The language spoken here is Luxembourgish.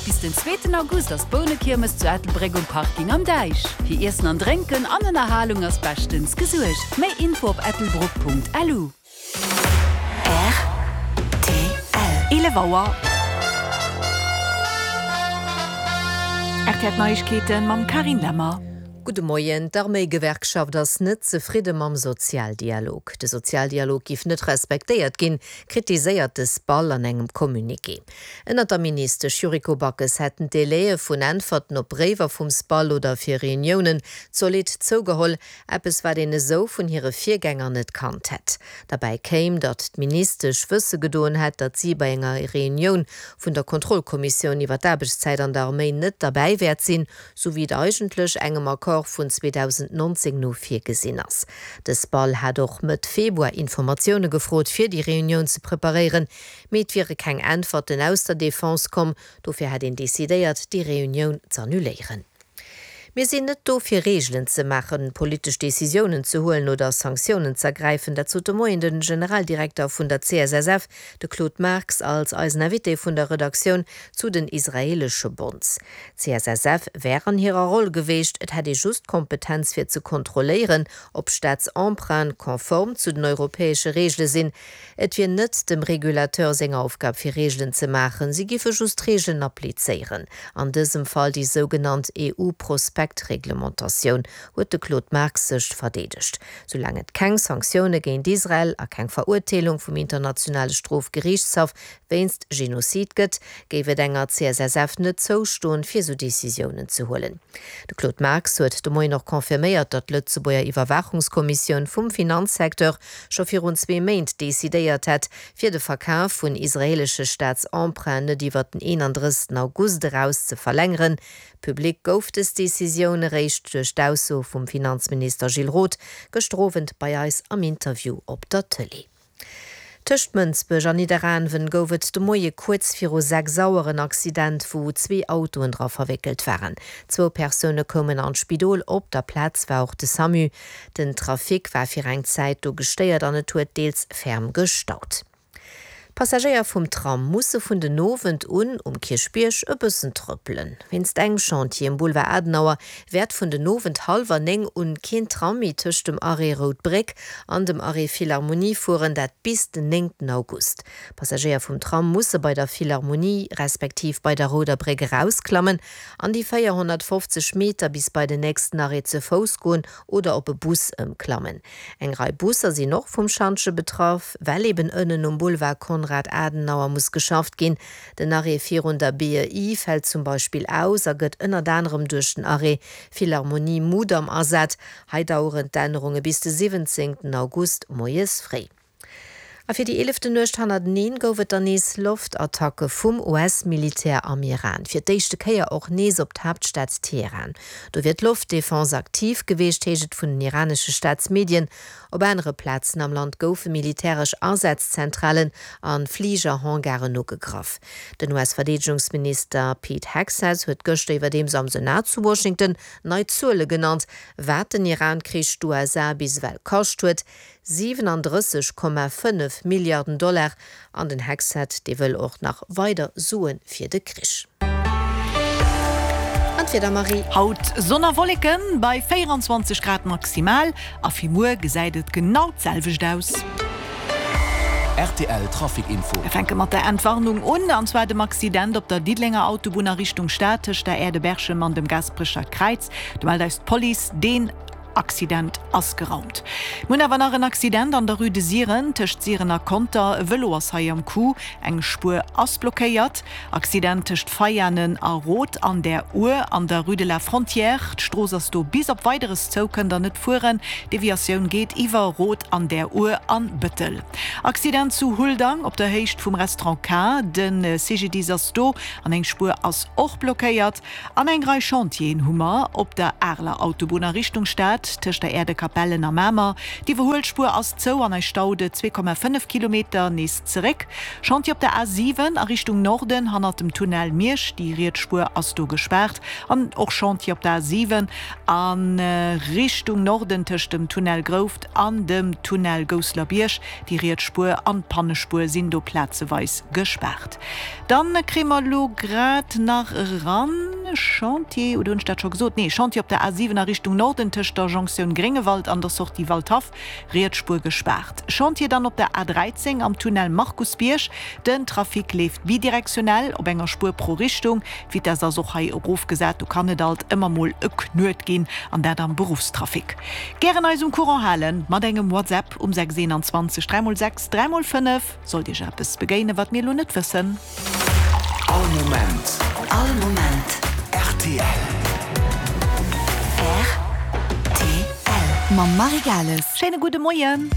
Bis den zweeten August ass d'Bounekiermes zu Ettelbréck um Parking am Däich. Fir Iessen an Drénken an Ënnerhalung ass beschtens gesuergt. Méi Info op ettelbruck.lu. Rtl. 11 Auer. Rtl Neiegkeeten mam Carine Lemmer. Gudde Moien. D'Arméigewerkschaft ass net zefridde mam Sozialdialog. De Sozialdialog giff net respektéiert ginn, kritiséiert de SPAL an engem Communiqué. Ënnert der Ministesch Yuriko Backes hätten d'Délaië vun Äntwerten op Bréiwer vum SPAL oder fir Reuniounen zolidd zougeholl, eppes wat een esou vun hire Virgänger net kannt hätt. Derbäi kéim, datt d'Ministesch wësse gedoen hätt, datt si bei enger Reunioun vun der Kontrollkommissioun iwwer d'Aarbechtszäit an der Arméi net derbäi wäert sinn, sou wéi et eigentlech engem Accord vun 2019 no virgesinn ass. De SPAL hat och Mëtt Februar Informatioune gefrot, fir déi Reunioun ze preparéieren, mee et wiere keng Äntwerten aus der Defense komm. Dofir hätt een decidéiert, déi Reunioun z'annuléieren. Mir sinn net do fir Reegelen ze maachen, politesch Decisiounen ze huelen oder Sanktiounen z'ergräifen. Dat sot de Moien de Generaldirekter vun der CSSF, de Claude Marx, als eisen Invité vun der Redaktioun zu den israeelesche Bonds. D'CSSF wär an hirer Roll geweecht, et hätt ee just d'Kompetenz fir ze kontrolléieren, ob Staatsemprunte konform zu den europäesche Reegele sinn. Et wier net dem Regulateur seng Aufgab fir Reegelen ze maachen, si giffe just d'Reegelen applizéieren, an dësem Fall déi sougenannt EU-Prospektreglementatioun, huet de Claude Marx sech verdeedegt. Soulaang et keng Sanktioune géint Israel a keng Verurteelung vum Internationale Strofgeriichtshaff wéinst Genozid gëtt, géif et enger CSSF net zoustoen, fir esou Decisiounen ze huelen. De Claude Marx huet de Moien och confirméiert, datt d'Lëtzebuerger Iwwerwaachungskommissioun vum Finanzsecteur scho virun zwee Méint decidéiert hätt, fir de Verkaf vun israeelesche Staatsemprunten net iwwer den 31 August eraus ze verlängeren. Public gouf dës Decisioun eréischt duerch d'Ausso vum Finanzminister Gilles Roth gëschter Owend bei eis am Interview op der Tëlee. Tëscht Mënsbech an Nidderaanwen gouf et de Moie kuerz viru 6 Auer en Accident, wou zwee Autoen dra verwéckelt waren. Zwou Persoune koumen an d'Spidol, op der Plaz war och de Samu. Den Trafic war fir eng Zäit do gestéiert an et huet deels ferm gestaut. D'Passagéier vum Tram musse vun den Owend un um Kierchbierg e bëssen trëppelen. Wéinst engem Chantier um Boulevard Adenauer wäert vun den Owend hallwer 9 un keen Tram méi tëscht dem Arrêt Rout Bréck an dem Arrêt Philharmonie fueren, dat bis den 9 August. Passagéier vum Tram musse bei der Philharmonie respektiv bei der Rouder Bréck erausklammen an déi 450 Meter bis bei den nächsten Arrêt ze Fouss goen oder op e Bus ëmklammen. Eng Rei Busser sinn och vum Schantje betraff, well eben ënnen um Boulevard Konrad Adenauer muss geschafft ginn. Den Arrêt virun der BEI fält zum Beispill aus a gëtt ënnert anerem duerch den Arrêt Philharmonie Mudam ersat. Hei daueren d'Ännerunge bis de 17 August moies fréi. A fir déi eeleften Nuecht hannerteneen gouf et dann nees Loftattacke vum US-Militär am Iran. Fir d'éischte Kéier och nees op d'Haaptstad Teheran. Do wier d'Loftdefense aktiv geweecht, heescht et vun den iranesche Staatsmedien. Op anere Plazen am Land goufe militäresch Asazzentralen a Fligerhangaren ugegraff. Den US-Verdeedegungsminister Pete Hegseth huet gëschter iwwerdeems am Senat zu Washington nei Zuele genannt, wat den Iran-Krich d'USA bis ewell kascht huet. 37,5 Milliarden Dollar, an den Hegseth, dee wëll och nach weider Sue fir de Krich. An d'Wieder, Marie? Haut Sonn a Wolleken bei 24 Grad maximal a fir muer gesäit et genau d'selwecht aus. Rtl Trafic Info. Mir fänke mat der Entwarnung un, an zwar dem Accident op der Diddelenger Autobunn a Richtung Stad tëscht der Aire de Berchem an dem Gasperecher Kräiz. Do mellt eis d'Police, deen. Accident ass geraumt. Mir hunn awer nach en Accident an der Rue de Siren, tëscht Siren a Conter. E Vëlo ass hei am Coup, eng Spuer ass blockéiert. Accident tëscht Veianen a Roth an der Our an der Rue de la Frontière. D'Strooss ass do bis op Weideres zou, kënnt der net fueren. Deviatioun geet iwwer Roth an der Our an Bëttel. Accident zu Huldang op der Héicht vum Restaurant K. De CGDIS ass do an eng Spuer ass och blockéiert. An eng Rei Chantieren hu mer op der Areler Autobunn a Richtung Stad. gespaart tëscht der Aire de Capellen a Mamer. D'Iwwerhuelspuer ass zou an eis staut et 2,5 Kilometer nees zeréck. Chantier op der A 7 a Richtung Norden hannert dem Tunnel Miersch, déi riets Spuer ass do gespaart. An och Chantier op der A 7 a Richtung Norden tëscht dem Tunnel Grouft an dem Tunnel Gousselerbierg, déi riets Spuer an d'Pannespuer sinn do plazeweis gespaart. Dann kréie mer elo grad nach eran, Chantier, oder hunn ech dat scho gesot? Nee, Chantier op der A 7 a Richtung Norden tëscht der Jonktioun Gréngewald an der Sortie Waldhaff, Riets Spuer gespaart. Chantier dann op der A 13 am Tunnel Markusbierg. Den Trafic leeft bidirektionell op enger Spuer pro Richtung. D'Vitess ass och hei erofgesat. Do kann et alt ëmmer mol e Knuet ginn, an dat am Beruffstrafic. Gären eis um Courant halen mat engem WhatsApp um 6 21 3 x 6 3 x 5. Sollt Iech eppes begéinen, wat mir elo net wëssen. All Moment. All Moment. Rtl. Rtl. Mam Marie Gales. Schéine gudde Moien.